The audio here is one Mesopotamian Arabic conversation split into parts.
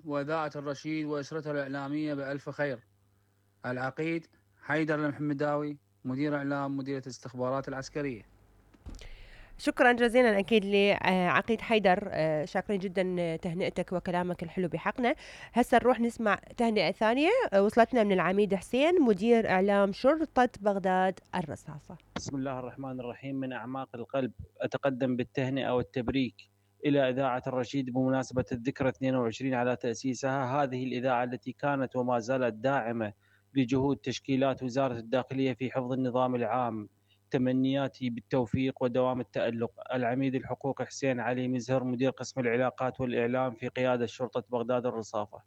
وإذاعة الرشيد وأسرتها الإعلامية بألف خير. العقيد حيدر المحمداوي، مدير إعلام مديرية الاستخبارات العسكرية. شكرا جزيلا أكيد لعقيد حيدر. شاكرين جدا تهنئتك وكلامك الحلو بحقنا. هسه نروح نسمع تهنئة ثانية وصلتنا من العميد حسين، مدير إعلام شرطة بغداد الرصافة. بسم الله الرحمن الرحيم. من أعماق القلب أتقدم بالتهنئة والتبريك إلى إذاعة الرشيد بمناسبة الذكرى 22 على تأسيسها. هذه الإذاعة التي كانت وما زالت داعمة لجهود تشكيلات وزارة الداخلية في حفظ النظام العام. تمنياتي بالتوفيق ودوام التألق. العميد الحقوق حسين علي مزهر، مدير قسم العلاقات والإعلام في قيادة شرطة بغداد الرصافة.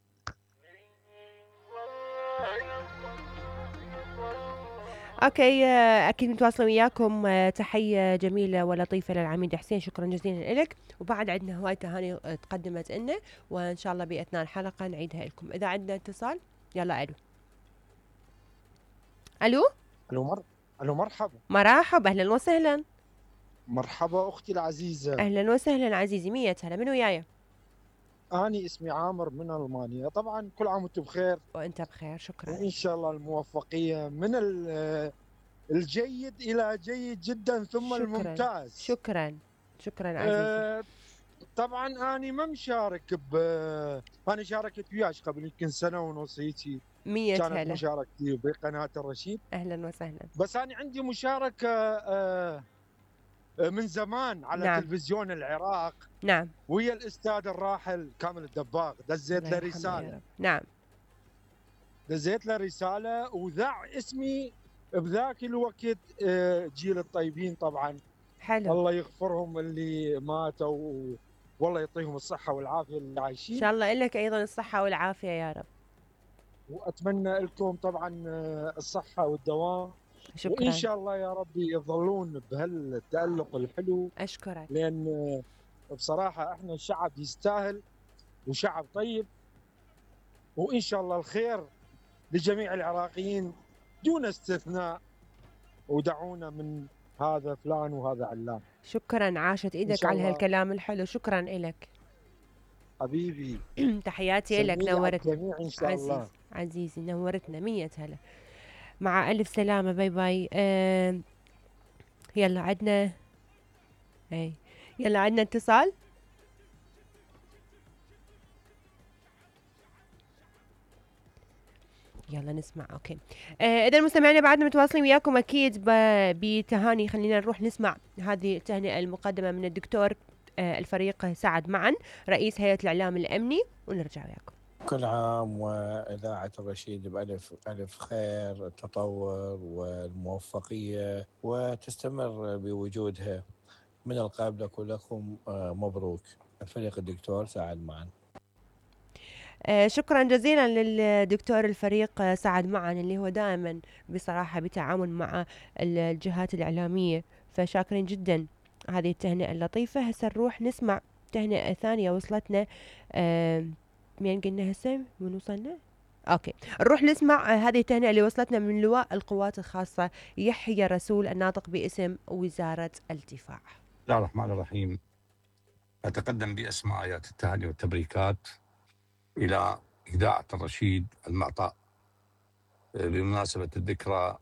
اوكي، اكيد متواصلين وياكم. تحيه جميله ولطيفه للعميد حسين، شكرا جزيلا لك. وبعد عندنا هواي تهاني تقدمت لنا، وان شاء الله باثناء الحلقه نعيدها لكم. اذا عندنا اتصال يلا. الو مرحبا. مرحبا، اهلا وسهلا. مرحبا اختي العزيزه. اهلا وسهلا عزيزي، 100 هلا. من وياي؟ اني اسمي عامر من المانيا. طبعا كل عام وانتم بخير. وانت بخير، شكرا. وان شاء الله الموفقيه من الجيد الى جيد جدا ثم شكرا. الممتاز. شكرا عزيزي. طبعا اني ما مشارك انا شاركت وياك قبل يمكن سنه ونص هيك. 100 كانت هلا. مشاركتي بقناه الرشيد. اهلا وسهلا. بس انا عندي مشاركه من زمان على نعم. تلفزيون العراق. نعم. ويا الاستاذ الراحل كامل الدباغ. دزيت له رساله. نعم. دزيت له رساله وذاع اسمي بذاك الوقت. جيل الطيبين طبعا. حلو. الله يغفرهم اللي ماتوا والله يعطيهم الصحه والعافيه اللي عايشين. ان شاء الله لك ايضا الصحه والعافيه يا رب. واتمنى لكم طبعا الصحه والدوام. شكرا. وان شاء الله يا ربي يظلون بهالتالق الحلو. اشكرك. لان بصراحه احنا شعب يستاهل وشعب طيب. وان شاء الله الخير لجميع العراقيين دون استثناء. ودعونا من هذا فلان وهذا علان. شكرا، عاشت ايدك على هالكلام الحلو. شكرا لك حبيبي. تحياتي لك، نورتنا ان شاء الله. عزيزي نورتنا. 100 هلا. مع الف سلامه. باي باي. يلا عندنا عندنا اتصال. يلا نسمع. اوكي، اذا المستمعين بعدنا متواصلين وياكم اكيد بتهاني. خلينا نروح نسمع هذه التهنئه المقدمه من الدكتور الفريق سعد معا، رئيس هيئه الاعلام الامني، ونرجع وياكم. كل عام وإذاعة الرشيد بألف خير، التطور والموفقية، وتستمر بوجودها. من القلب لكم مبروك. الفريق الدكتور سعد معا. شكرا جزيلا للدكتور الفريق سعد معا، اللي هو دائما بصراحة بتعاون مع الجهات الإعلامية، فشاكرين جدا هذه التهنئة اللطيفة. هسه نروح نسمع تهنئة ثانية وصلتنا. مين قلنا هسه؟ من وصلنا؟ اوكي، نروح نسمع هذه التهنئة اللي وصلتنا من لواء القوات الخاصة يحيى رسول، الناطق باسم وزارة الدفاع. بسم الله الرحمن الرحيم. أتقدم باسم آيات التهاني والتبريكات إلى إذاعة الرشيد المعطاء بمناسبة الذكرى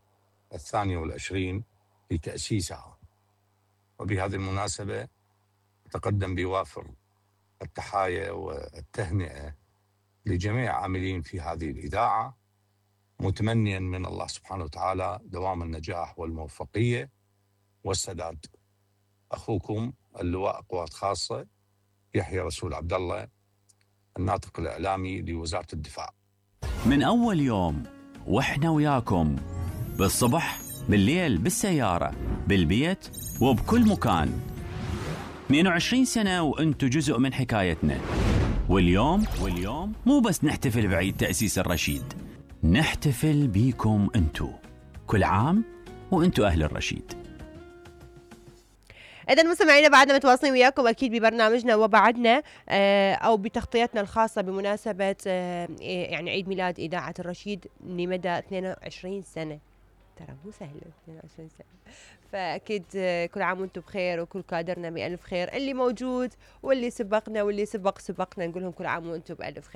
22 لتأسيسها. وبهذه المناسبة أتقدم بوافر التحايا والتهنئة لجميع عاملين في هذه الإذاعة، متمنيا من الله سبحانه وتعالى دوام النجاح والموفقية والسداد. أخوكم اللواء قوات خاصة يحيى رسول عبد الله، الناطق الإعلامي لوزارة الدفاع. من أول يوم وإحنا وياكم، بالصبح بالليل بالسيارة بالبيت وبكل مكان. 22 سنة وأنتوا جزء من حكايتنا. واليوم مو بس نحتفل بعيد تأسيس الرشيد، نحتفل بيكم أنتوا. كل عام وأنتوا أهل الرشيد. إذا مستمعينا بعدنا متواصلين وياكم أكيد ببرنامجنا وبعدنا أو بتغطيتنا الخاصة بمناسبة يعني عيد ميلاد إذاعة الرشيد لمدى 22 سنة. ترى مو سهل 22 سنة. فأكيد كل عام وانتم بخير، وكل كادرنا بألف خير، اللي موجود واللي سبقنا واللي سبقنا، نقول لهم كل عام وانتم بألف خير.